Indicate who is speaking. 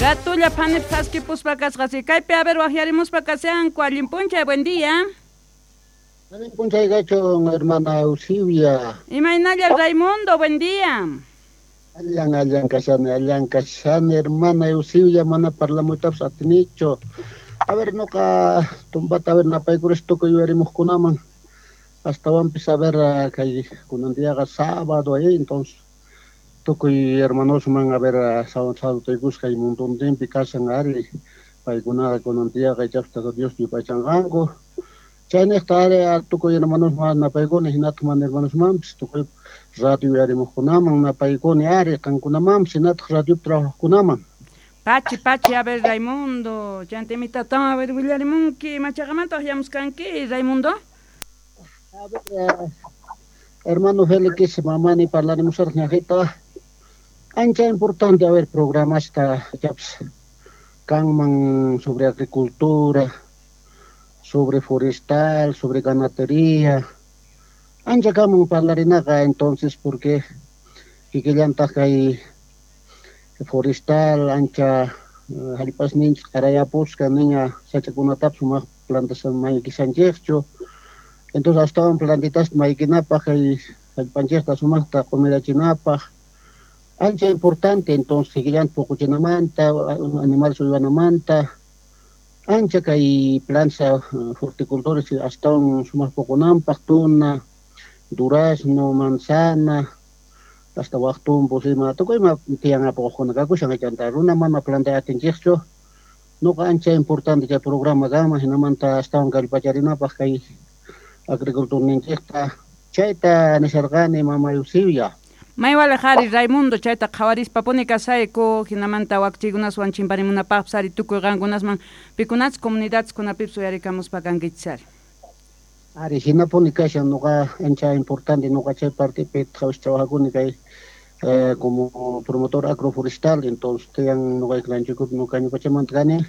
Speaker 1: Ratulla phanip thaskipuspa kasqasi. Kaypi, a ver, waqyarimuspa kashanku. Allin p'unchay, buen día.
Speaker 2: Allin p'unchay kachun, hermana Eusibia.
Speaker 1: Imaynalla, Raimundo, buen día.
Speaker 2: Allan, allan kashani, allan kashani, hermana Eusibia, mana parlamuytapas atinichu. A ver, nuqa tumpata, a ver, napaykuris tukuy yuyarimuqkunaman. Astawanpis, a ver, kay kunan diaqa sábado ahí, entonces tukuy hermanosman, a ver, saludaykusqa kay mundontinpi kashan ari, paykunaqa kunan diaqa ichapas Tata Dios yupaychanqanku. Chayniqta ari tukuy hermanosman napaykuni, hinataq mana hermanosmanpis, tukuy radio yuyarimuqkunaman napaykuni ari, qankunamanpis, hinataq radiopi trabajaqkunaman.
Speaker 1: Pachi, pachi, a ver, Raimundo, chanta imitatawan, a ver, willarimunki, machaqamanta waqyamuskanki, Raimundo?
Speaker 2: A ver, hermano Félix, mamani parlarimusaraq ñaqita. Ancha importante, a ver, programasta ichapas kanman sobre agricultura, sobre forestal, sobre ganadería. Ancha kanman parlarinaqa, entonces, porque kikillantaq kay forestal ancha hallp'asninchik qarayapusqa, niña sachakunatapas sumaq plantas maykishanchikchu. Entonces astawan plantitasta maykinapaq, kay hallp'anchikta sumaqta q'umirachinapaq ancha importante. Entonces kikillanta puquchinamanta, animales uywanamanta, ancha kay planta horticultores astawan sumaq puqunanpaq, tuna, durazno, manzana, hasta waq tumpus ima, tukuy ima tiyan apuqkuna kakushan, chanta runa mana plantay atinchikchu. Nuqa ancha importante chay programa kanman, hinamanta astawan kallpacharinapaq kay agriculturninchikta. Chayta nisharqani, mama Eusibia.
Speaker 1: Maywalaq ari, Raimundo, chayta qhawarispapuni kasayku, hinamanta wakchiykunaswan chimparimunapaqpas ari, tukuy qankunasman pikunachus comunidadeskunapipis uyarikamuspa kankichis ari.
Speaker 2: Ari, hinapuni kashan. Nuqa ancha importante, nuqa chay partepi trabajakuni kay como promotor agroforestal. Entonces tiyan nuqayku ranchuykupi, nuqa ñuqachamanta kani.